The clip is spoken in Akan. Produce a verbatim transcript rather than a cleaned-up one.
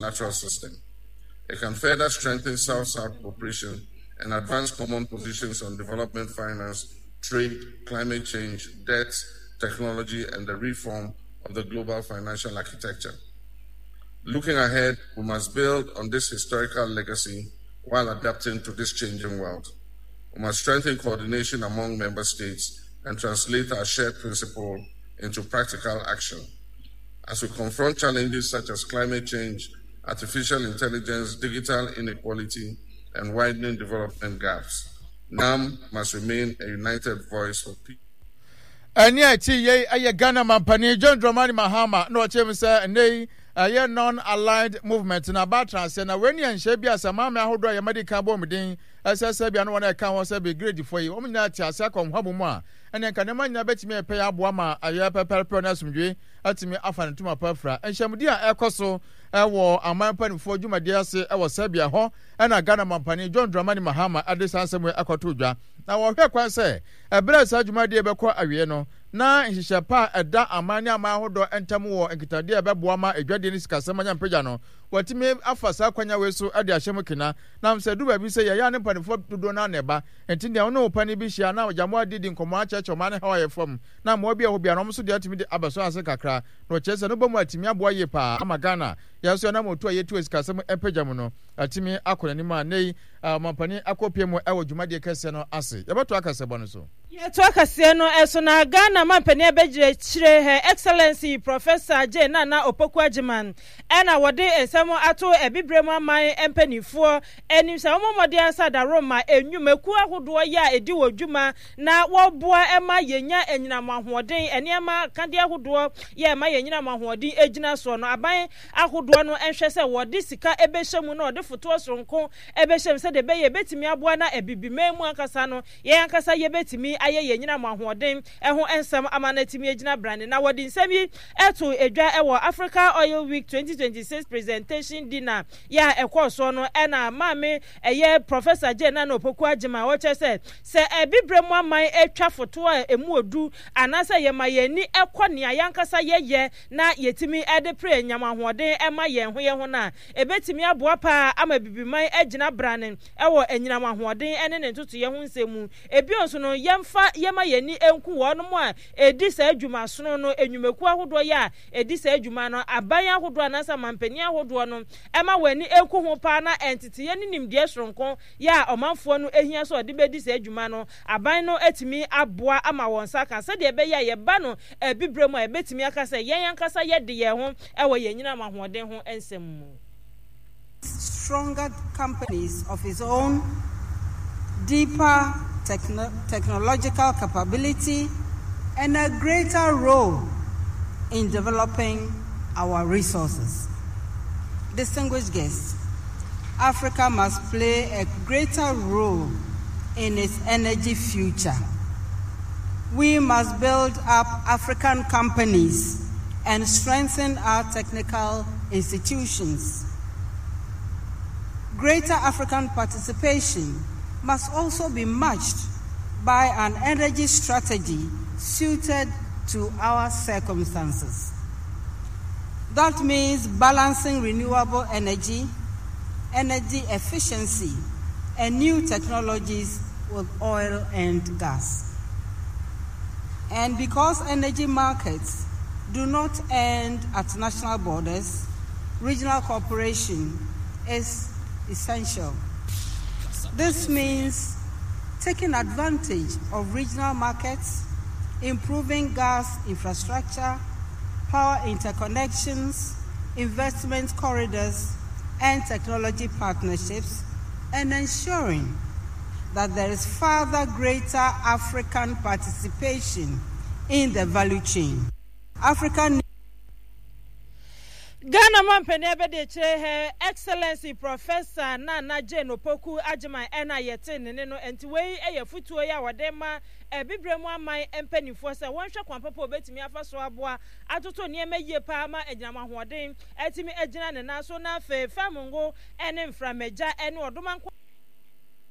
Natural system. It can further strengthen South-South cooperation and advance common positions on development finance, trade, climate change, debt, technology, and the reform of the global financial architecture. Looking ahead, we must build on this historical legacy while adapting to this changing world. We must strengthen coordination among member states and translate our shared principle into practical action. As we confront challenges such as climate change, artificial intelligence, digital inequality, and widening development gaps, NAM must remain a united voice for peace. Ɛne a ɛte yei ɛyɛ Ghana mampanin John Dramani Mahama na ɔkyerɛ mu sɛ ɛnnɛ yi ɛyɛ Non-Aligned Movement na aba atena aseɛ na wei ne ɛnhyɛ bi a sɛ maame ahodoɔ a yɛmadi kan bɔ wɔn din ɛsɛ sɛ bia no wɔn a ɛka ho sɛ Brigade-foɔ yi wɔn nyinaa te ase akɔ nhwabɔ mu a ɛne nka nneɛma nyinaa bɛtumi ɛpɛ yɛ aboa ma ayɛ pɛpɛrepɛ ne asomdwoe atumi afa ne ntoma pa afira. Nhyiamudi a ɛkɔ so wɔ aman mpanimfoɔ dwumadie ase wɔ Serbia hɔ na Ghana mampanin John Dramani Mahama de saa nsɛm yi akɔto dwa. Na wɔhwɛ kwan sɛ ɛberɛ a saa dwumadie bɛkɔ awie no, na nhyehyɛ pa a ɛda aman ne aman ahodoɔ ntam wɔ nkitahodie a ɛbɛboa ma adwadie ne sikasɛm anya mpagya no, wɔatumi afa saa kwanya wei so de ahyɛ mu kena. Nam sɛ ɛduru baabi sɛ yɛyɛ a ne mpanimfoɔ dodoɔ no ara na ɛba, enti deɛ wo ne wo panin bi hyia na agya mo adidi nkɔmmɔ akyerɛkyerɛ ɔman no haw a ɛyɛ fam na mmoa bi a ɛwɔ hɔ biara no wɔn nso deɛ atumi de abɛsɔ ase kakra na ɔkyerɛ sɛ no bɔ mu atumi aboa yie paa ama Ghana yɛn nso yɛn anammɔntuo a yɛtu wɔ sikasɛm mpagya mu no atumi akɔ n'anim a nnɛ yi ɔmampanin akɔpue mu wɔ dwumadie kɛseɛ no ase. Yɛbɛtoa kaseɛbɔ no so. Yɛtoa kaseɛ no so na Ghana mampanin abɛgyinakyire Her Excellency Professor Jane Nana Opoku Agyemang ɛna wɔde nsɛm ato Abibirem aman mpaninfoɔ anim sɛ wɔmmɔ mmɔden ansa adaworoma nnwumakuo ahodoɔ yɛ a ɛdi wɔn dwuma na wɔboa ma yɛnya anyinam ahoɔden nneɛma akadeɛ ahodoɔ yɛ ɛma yɛn anyinam ahoɔden gyina soɔ no. Aban ahodoɔ no nhwɛ sɛ wɔde sika bɛhyɛ mu na wɔde fotoɔ soronko bɛhyɛ mu sɛdeɛ ɛbɛyɛ ɛbɛtumi aboa na Abibiman mu ankasa no yɛn ankasa yɛbɛtumi ayɛ yɛn anyinam ahoɔden ho nsɛm ama no atumi agyina brane. Na wɔde nsɛm yi too dwa wɔ Africa Oil Week twenty twenty six Presentation Dinner yɛ a ɛkɔɔ soɔ no na maame ɛyɛ Professor Jane Nana Opoku Agyemang a ɔkyerɛ sɛ sɛ Abibire mu aman twa fotoɔ a ɛmu ɔdu anaasɛ yɛma yɛn ani kɔ nea yɛn ankasa yɛyɛ na yɛtumi de pere anyam ahoɔden ma yɛn ho yɛn ho no a, ɛbɛtumi aboa pa ara ama Abibiman agyina brane wɔ anyinam ahoɔden ne ne ntotoeɛ ho nsɛm mu. Bio nso no, yɛmfa yɛma yɛn ani nku wɔnom a ɛdi saa dwumasono no, nnwumakuo ahodoɔ yɛ a ɛdi saa dwuma no, aban ahodoɔ anaasɛ amanpanin ahodoɔ no ma wɔn ani nku ho pa ara na nteteeɛ ne nimdeɛ soronko yɛ a ɔmanfoɔ no hia sɛ wɔde bɛdi saa dwuma no, aban no atumi aboa ama wɔn nsa aka sɛdeɛ ɛbɛyɛ a yɛba no abibire mu a yɛbɛtumi aka sɛ yɛn ankasa yɛde yɛn ho wɔ yɛn anyinam ahoɔden ho nsɛm mu. Stronger companies of its own, deeper techno technological capability, and a greater role in developing our resources. Distinguished guests, Africa must play a greater role in its energy future. We must build up African companies and strengthen our technical institutions. Greater African participation must also be matched by an energy strategy suited to our circumstances. That means balancing renewable energy, energy efficiency, and new technologies with oil and gas. And because energy markets do not end at national borders, regional cooperation is essential. This means taking advantage of regional markets, improving gas infrastructure, power interconnections, investment corridors, and technology partnerships, and ensuring that there is further greater African participation in the value chain. Africa Ghana mampanin abadiakyire Her Excellency Professor Nana Jane Opoku Agyemang ɛna yɛte ne ne no nti wei yɛ afutuo yi a wɔde ma Abibire mu aman mpanimfoɔ sɛ wɔnhwɛ kwan papa a wɔbɛtumi afa so aboa atoto nneɛma yie paa ma anyinam ahoɔden atumi agyina ne nan so na afei fam ngo ne mframagya ne ɔdomankɔ